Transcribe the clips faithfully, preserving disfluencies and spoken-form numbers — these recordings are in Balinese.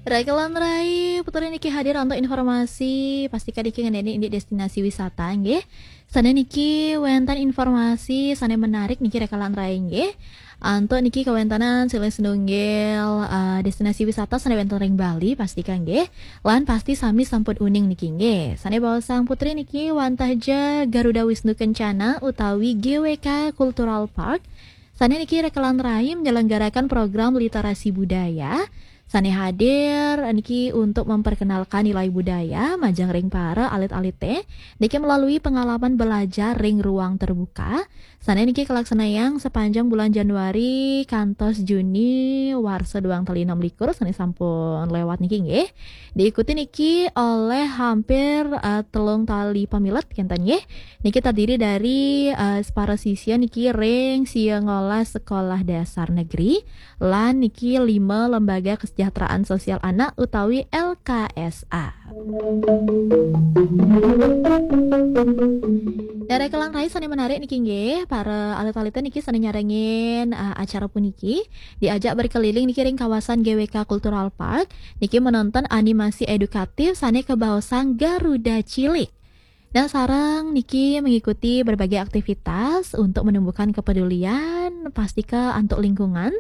Rekelan rai, Putri niki hadir untuk informasi, pastika niki ngeneni indik destinasi wisata nggih. Sane niki wenten informasi sane menarik niki rekelan rai nggih. Antuk niki kawentanan silih sinunggil, eh, destinasi wisata sane wenten ring Bali pastika nggih. Lan pasti sami sampun uning niki nggih. Sane baosang Putri niki wantah ja Garuda Wisnu Kencana utawi G W K Cultural Park. Sane niki rekelan rai menyelenggarakan program literasi budaya. Sane hadir niki untuk memperkenalkan nilai budaya majeng ring para alit-alite niki melalui pengalaman belajar ring ruang terbuka. Sane niki kalaksanayang sepanjang bulan Januari kantos Juni warsa duang tali enam likur sane sampun lewat niki nggih. Diikuti niki oleh hampir, eh, telung tali pamilet kenten nggih. Niki terdiri dari, eh, para sisya niki ring sia ngolas sekolah dasar negeri lan niki lima lembaga kesejahteraan sosial anak utawi L K S A. Darai kelang rai sane menarik niki nggih, para alit-alite niki sane nyarengin, eh, acara puniki diajak berkeliling niki ring kawasan G W K Cultural Park, niki menonton animasi edukatif sane kebaosang Garuda Cilik. Nah, sareng niki mengikuti berbagai aktivitas untuk menumbuhkan kepedulian, pastika antuk lingkungan.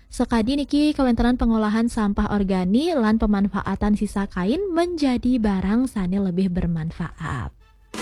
Sakadi niki kawentenan pengolahan sampah organik lan pemanfaatan sisa kain menjadi barang sane lebih bermanfaat.